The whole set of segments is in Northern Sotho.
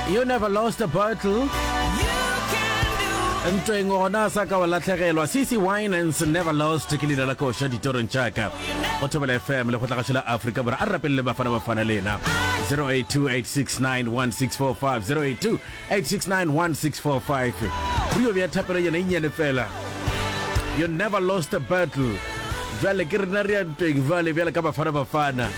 You never lost a battle. Ntweng gona sa ka wa lahlegelwa. CC Winans never lost ke leina la koša ditorong tša ka. Go Thobela FM le kgotlagašo la Afrika Borwa. A re rapelele Bafana Bafana lena. 0828691645 0828691645. Re yo bea thapelo yena e nnyane fela. You never lost a battle. Bjale ke rena re ya ntweng bjale bjale ka Bafana Bafana.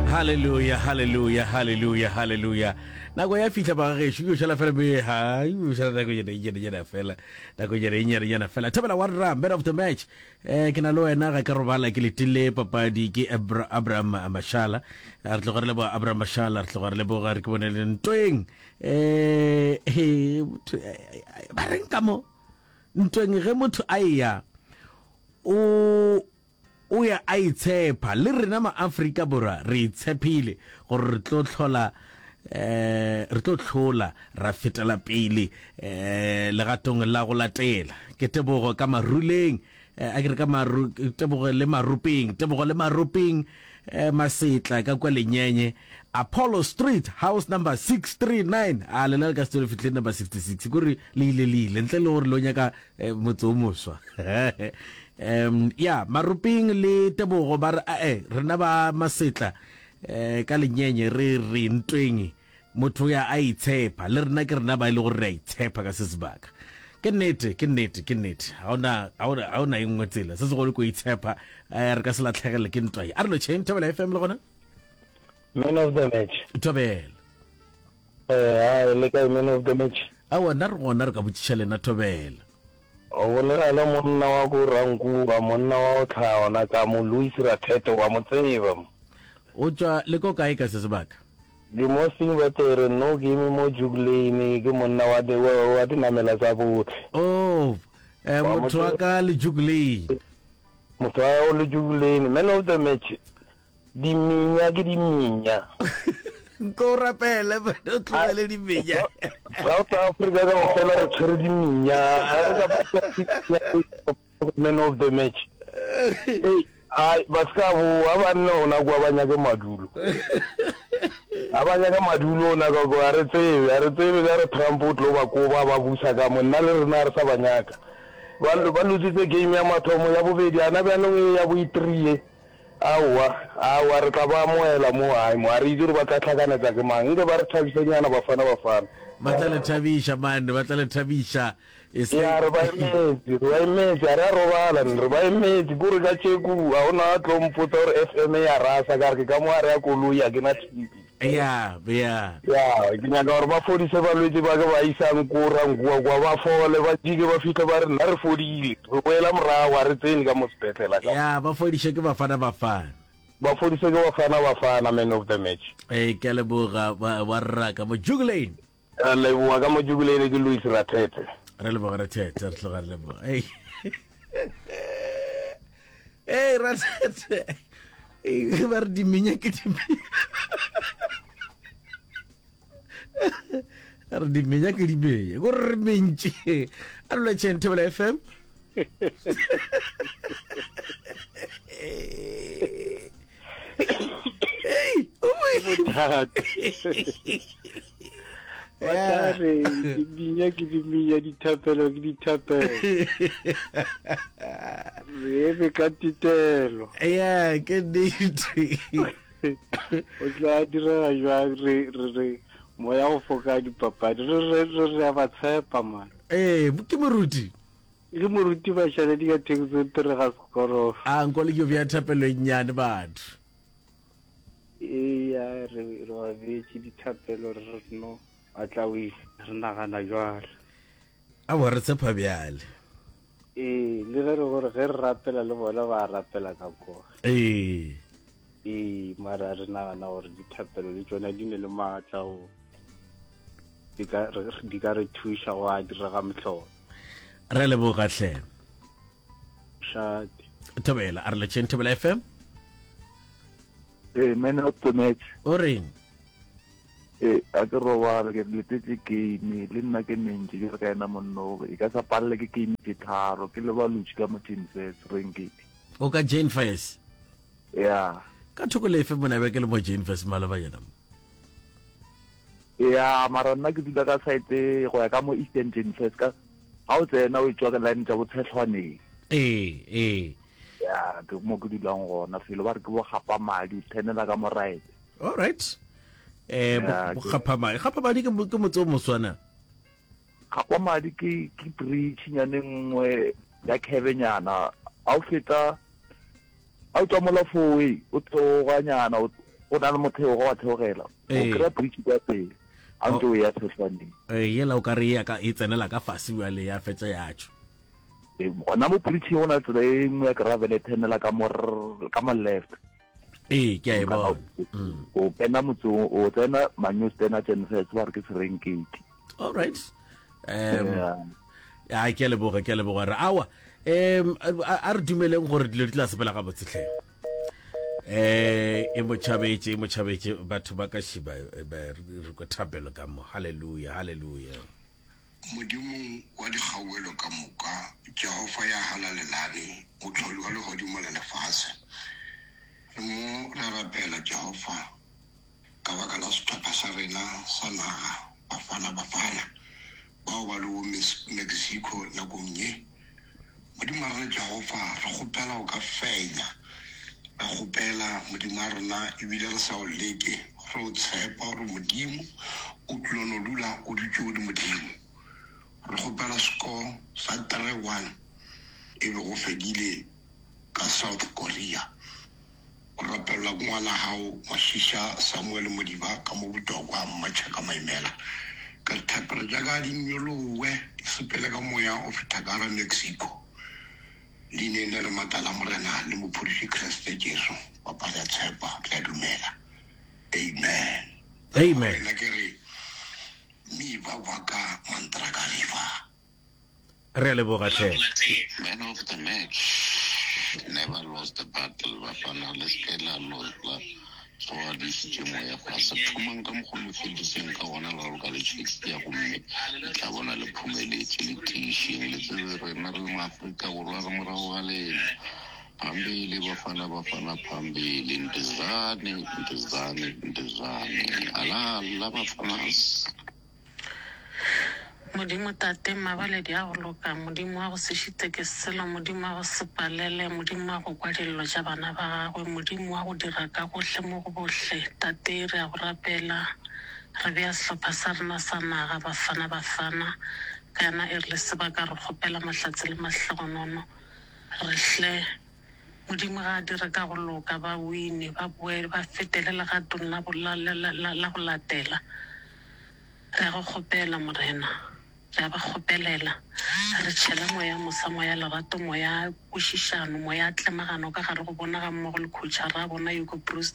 Hallelujah, hallelujah, hallelujah, hallelujah. Nako ya fihla ba gešo, yo šala fela be ha, yo šala nako yena yena yena fela. Nako yena yena yena fela. Thobela wa rra, man of the match. Eh ke na le wena ga ke robala ke letile papadi ke Abra, Abraham Mashala. Re tloga re leboga Abraham Mashala, re tloga re leboga re ke bone le ntweng. Eh he ba reng ka mo ntweng ge motho a eya o o ya a itshepa le rena ma-Afrika Borwa re itshepile gore re tlo hlola eh re tlo hlola ra fetela pele eh legatong la go latela ke tebogo ka maruleng eh, a ke re ka maru tebogo le marupeng tebogo le marupeng eh, masetla ka kwa lenyenye Apollo Street house number 639 a lena le ka se le fihle number 66 kore le ile le ile ntle le gore lo nyaka eh, motse o moswa um ya marupeng le tebogo ba re ae rena ba masetla eh, ka lenyenye re re ntweng motho ya a itshepa le rena ke rena ba e le gore re a itshepa ka se sebaka ke nnete ke nnete ke nnete ga ona ga ona ga ona e nngwe tsela se segolo ko itshepa eh, re ka se latlhegele ke ntwa ye a re lotšheng thobela fm le gona Man of the match. thobela Eh, hai, le kae man of the match? aowa nna re gona re ka botšiša lena thobela O bolela le monna wa ko Rankuwa, monna wa go tlhaya ona ka mo Louis Rathete, wa mo tseba mo. O tšwa le ko kae ka se sebaka? Ke mo Singbatere, no ke eme mo Juke Lane, ke monna wa di, wa, wa dinamela tsa bohle. Oh, eh, Wa mo motho wa tseba. ka le Juke Lane. Motho wa o le Juke Lane, man of the match. Diminya ke diminya. Nko o rapele, bana, o tlogele diminya. South Africa ka ofela re tshwere diminya. Ha re ka man of the match. Hey, ai ba ska boa banna ona kwa ba nyake madulo. A ba nyaka madulo ona ka kwa re tsebe, a re tsebe ka re Trump o tlo ba koba ba busa ka mo nna le rena re sa ba nyaka. Ba ba lositse game ya mathomo ya bobedi ana bjanong e ya bo e-three. Aowa, aowa, re tla ba amohela mo gae mo. A re itse gore ba tla hlakanetsa ke mang. Nke ba re thabisenyana Bafana Bafana. Ba tla le thabiša, man, ba tla le thabiša. E se. Ya, re ba emetse, re ba emetse, ga re a robala, re ba emetse. Kore ka tšeku ga go na a tlo mpotsa gore FM e a rasa, ka re ke ka mo gare ya koloi, ga ke na TV. Ya, ya. Ya, ke nyaka gore ba fodise balwetši ba ke ba isang ko Rankuwa kwa, ba fole, ba jike, ba fihle ba re, Nna re fodile, re boela morago, ga re tsene ka mo sepetlela ka mo. Ya, ba fodiše ke Bafana Bafana. Ba fodise ke Bafana Bafana, man of the match. Ee, ke a leboga, wa, wa rra ka mo Jukulane. Re leboga ka mo Jukulane, ke Louis Rathethe. Re leboga Rathethe, re tloga re leboga. Ei. Ei, Rathethe. Ei, ba re dimenya ke dimenya. Re dimenya ke dimenya. Ko re mentši. A re lotšheng Thobela FM. Hey, bothata ba tla re diminya ke diminya dithapelo ke dithapelo re eme ka titelo ya ke nnete o tla direga jwang re re re moya go foka dipapadi re re re re a ba tshepa man ee ke moruti ke moruti bašaledi ka taxi tere ga sekorof a nko le ke bja thapelo e nnyane batho Eya, re re ba beetše dithapelo re re no ba tla wina, re nagana jwalo. Aowa, re tshepa bjale. Ee, le ge re gore ge re rapela le bona ba rapela ka koo. Ee. Ee, mara re nagana gore dithapelo le tšona di ne le maatla go di ka re di ka re thuša go a direga mehlolo. Re leboga hle. Shate. Thobela, a re letšeng Thobela FM. Ee, man of the match. O reng? Ee, a ke robale ke letetše game le nna ke mentši ke re ka ena monno e ka sa palele ke game tše tharo ke le balutši ka mo Jane Fairs Rengedi. O ka Jane Fairs? Ya. Ka thoko lefe mona be ke le mo Jane Fess maloba yena mo. Ya, mara nna ke dula ka side go ya ka mo Eastern Jane Fess ka ga o tsena o etšwa ke line tša botshehlwaneng. Ee, ee. Ya, ke mo ke dulang gona felo ba re ke bo gapa madi o thenela ka mo right. All right. Eh, bo gapa madi. Gapa madi ke ke motse o moswana. Gapa madi ke ke bridge nyane nngwe ya kebenyana. Ha o feta A o tswa mola fowe o theoganyana o na le motheogo wa theogela o kry-a bridge kwa pele a ntse o ya tshehlwaneng. Ee, yela o ka re ya ka e tsenela ka fase bjale ya fetša ya tšwa. Ee, gona mo bridge go na tsela e nngwe ya gravel e thenela ka mo ka mo left. Ee, ke a e bona. O kena motseng o tsena Manyostena Tšenfetse ba re ke Serengeti. All right. Um yeah. ke a leboga ke a leboga re awa um a re dumeleng gore dilo di tla sepela gabotse tlhe eh e mo tšhabetše e mo tšhabetše batho ba ka šiba eh, re ko thapelo ka mo halleluja halleluja Modimo wa dikgauwelo ka moka, Jehofa ya halalelane, Mohloli wa legodimo le lefase. Re mo re rapela, Jehofa, Ka baka la sehlopha sa rena sa naga, Bafana Bafana, bao ba lego Mexico nakong ye, Modimo wa rena Jehofa, re kgopela o ka fenya. Re kgopela, Modimo wa rena, ebile re sa o leke, re o tshepa gore Modimo o tlilo no dula o dutše o le Modimo. Re kgopela score sa 3-1 e be go fedile ka South Korea. O rapelelwa ke ngwana gago Mashisha Samuel Modiba ka mo Botokwa Mmatšhaka Maimela. Ka dithapelo tša ka di nyolowe di sepele ka moya o feta ka gara Mexico. Leineng le le maatla la Morena le Mophološi Kriste Jesu, Papa re a tshepa, re a dumela. Amen. Amen. Nna ke re, Mi va waka mantraka riva. Re a leboga hle. Man of the match never lost a battle bafana le seke la la tsoga le išitše moya fase thomang ka mokgo le fediseng ka gona raloka le Shakespeare gomme le tla bona le phumeletše le tiišeng le tsebe rena re le maafrika borwa re morago ga lena phambili bafana bafana phambili ntizane ntizane ntizane alala bafanas Modimo Tate, Mmabaledi a go loka, Modimo wa go se šite ke selo, Modimo wa go se palele, Modimo wa go kwa dillo tša bana ba gagwe, Modimo wa go dira ka gohle mo go bohle, Tate, re a go rapela, re bea sehlopha sa rena sa naga, Bafana Bafana, ka yona e re le sebaka re kgopela mahlatse le mahlogonono, re hle, Modimo ga a dire ka go loka, ba wine, ba boele, ba fetele legatong la, la, la, la, la go latela. Re a go kgopela, Morena. Re a ba kgopelela. Re tšhela moya mosa, moya lerato, moya kwešišano, moya tlemagano ka gare go bona gammogo le khotšhara ya bona, Hugo Broos.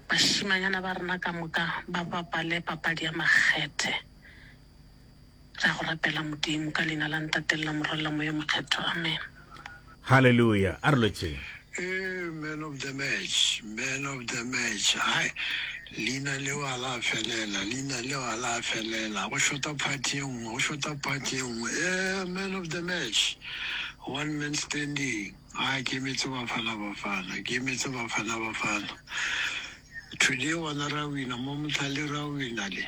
Bašimanyana ba rena ka moka ba bapale papadi ya makgethe. Re a go rapela, Modimo, ka Leina la Ntate le la Morwa le la Moya o Mokgethwa. Amen. Haleluya! A re lotšheng. Ee, man of the match, man of the match. Hai, leina leo ga la felela, leina leo ga la felela. Go shota part ye nngwe, go shota part ye nngwe. Ee, man of the match, one man standing. Hai, ke emetse Bafana Bafana, ke emetse Bafana Bafana. Today gona ra wina, mo Motlhale ra wina le.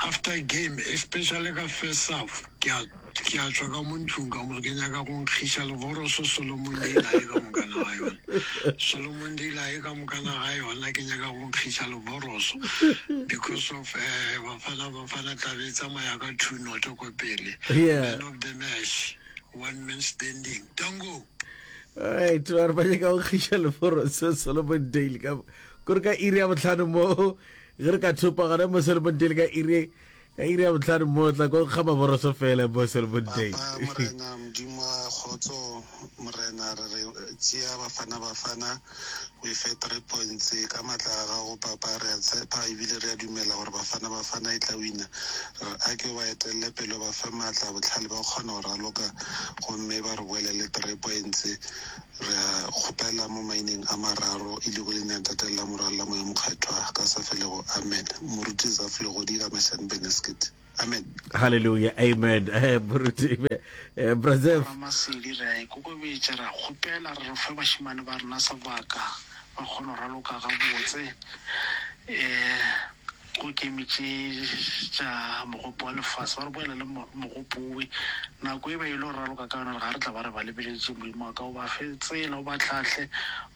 After game especially ka first half ke a ke a tšwa ka mo ntlong ka mo ke nyaka go nkgiša levoroso Solomon Dale a ye ka mokana ga yona Solomon Dale a ye ka mokana ga yona ke nyaka go nkgiša levoroso because of eh, Bafana Bafana tla be e tsamaya ka two noto ko pele Yeah. man of the match one man standing tango Alright, ba re ba nyaka go kgiša leforoso Solomon Dale ka kore ka iri ya botlhano mo Ge re ka thopa gona mo Selfontein ka iri ka iri ya botlhano mo tla ko ga maboroso fela mo Selfontein. Papa Morena Modimo wa kgotso Morena re re tšea Bafana Bafana o e fe 3 points ka matla a gago Papa re a tshepa ebile re a dumela gore Bafana Bafana e tla wina re re a ke o ba etelele pele o ba fe matla bohlale ba kgona go raloka gomme ba re boele le 3 points Re a kgopela mo maineng a mararo, e lego leina Ntate le la Morwa le la Moya Mokgethwa, ka sa felego. Amen. Moruti Zaf Legodi ka Mashane Beneskit. Amen. Hallelujah. Amen. Eh, Moruti, eh, Brazil. Ramasedi re a ikokobetša, re a kgopela re re fe bašemane ba rena sebaka ba kgone go raloka gabotse um go game tše tša mogopo wa lefase ba re boela le mogopo owe nako e ba ile go raloka ka yona re ga re tla ba re ba lebeletše modimo wa ka o ba fe tsela o ba hlahle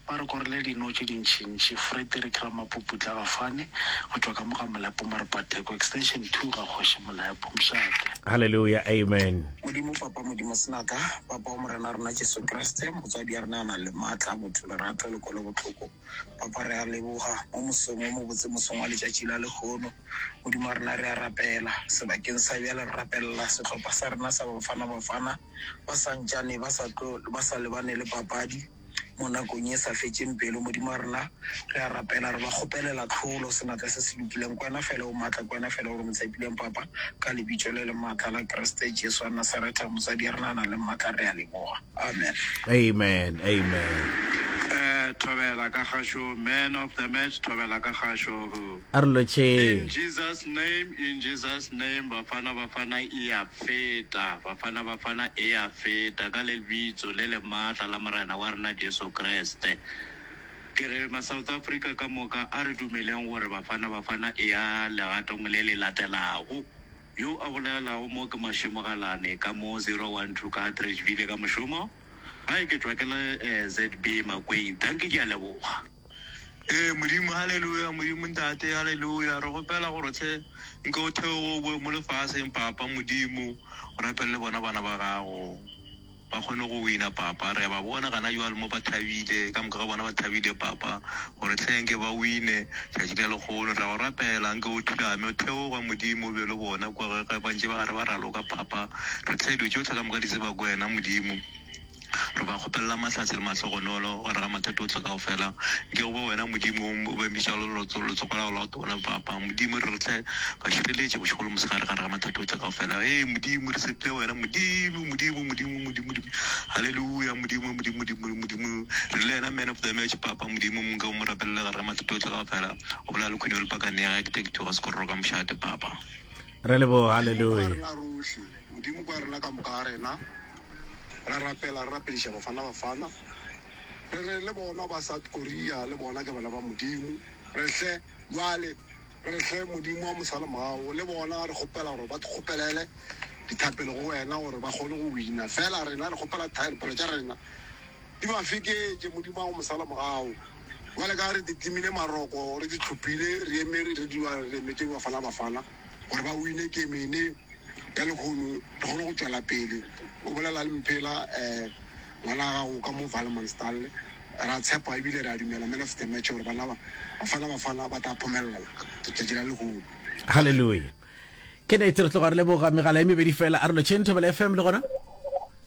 Ba re korele dino tše dintšintši. Frederick Ramapuputla Gafane go tšwa ka mo ga Molepo Marpatheko Extension 2 ga Kgoši Molepo. Mošate. Hallelujah amen. Modimo Papa Modimo Senatla, Papa wa Morena wa rena Jesu Kriste, motswadi ya rena a nang le maatla, botho, lerato le kwelobohloko. Papa re a leboga mo mosong wo mobotse, mosong wa letšatši la lehono. Modimo wa rena re a rapela, sebakeng sa bjale re rapelela sehlopha sa rena sa Bafana Bafana ba sa ntšane ba sa tlo ba sa lebane le papadi. Mo nakong ye sa fetšeng pelo, Modimo wa rena, re a rapela, re ba kgopelela tlholo, senatla se se lokileng. Ke Wena feela o maatla, ke Wena feela o re mo tshepileng, Papa, ka Lebitso le le maatla la Kriste Jesu wa Nasaretha, motswadi ya rena a nang le maatla, re a leboga. Amen. Amen, amen. Eh, thobela ka gašo, man of the match, thobela ka gašo. A re lotšheng. In Jesus name, in Jesus name, Bafana Bafana e a feta, Bafana Bafana e a feta ka lebitso le le maatla la Morena wa rena Jesu Kriste. Ke re ma South Africa ka moka a re dumeleng gore Bafana Bafana e ya legatong le le latelago. Yo a bolelago mo ke Mašemo Galane ka mo 012 ka Atteridgeville ka mošomo. Gae ke tšwa ke le ZB Makweng. Dankie ke a leboga. Ee, Modimo, haleluya, Modimo Ntate, haleluya. Re kgopela gore hle nke o theoge o boe mo lefaseng, Papa, Modimo, o rapelele bona bana ba gago, ba kgone go wina, Papa. Re a ba bona gana jwale mo ba thabile, ka moka ga bona ba thabile, Papa, gore hle nke ba wine tšatši la lekgono. Re a go rapela, nke o thulame, o theoge, Modimo, o be le bona kua ge ba ntše ba gare ba raloka, Papa. Re hle dilo tšohle ka moka di tseba ke wena, Modimo. Re ba kgopelela mahlatse le mahlogonolo gare ga mathata ohle kaofela. Nke go be wena, Modimo, o ba emišago letsogo la gago la go tona, Papa. Modimo, re re hle ba šireletše bošego le mosegare gare ga mathata ohle kaofela. Ee, Modimo, re tshepile wena, Modimo, Modimo, Modimo, Modimo, Modimo. Haleluya, Modimo, Modimo, Modimo, Modimo. Re le yena man of the match, Papa, Modimo, nke o mo rapelele gare ga mathata ohle kaofela. O bolela le Queen wa Lipakane, ga ke take to ga Sekororo ka mošate, Papa. Re leboga, haleluya. Modimo kwa rena ka moka ga rena. Ra rapela, re rapediša Bafana Bafana. Re re le bona ba South Korea le bona ke bana ba Modimo. Re hle bjale, re hle Modimo wa mosalemogao le bona re kgopela gore ba kgopelele dithapelo go wena gore ba kgone go wina. Fela rena re kgopela thapelo tša rena di ba feketše Modimo wa go mosalemogao. Bjale ka ge re di timile maroko, re di hlopile, re eme re dula re emetše Bafana Bafana gore ba wine game ene. Ya lehono re kgone go tšwela pele. O bolela le Mphela, um ngwana wa gago ka mo Valmanstal. Re a tshepa ebile re a dumela man of the match gore bana ba Bafana Bafana ba tla phomelela letšatši la lehono. Hallelujah. Ke nete re tloga re leboga megala e mebedi fela. A re lotšheng Thobela FM le gona.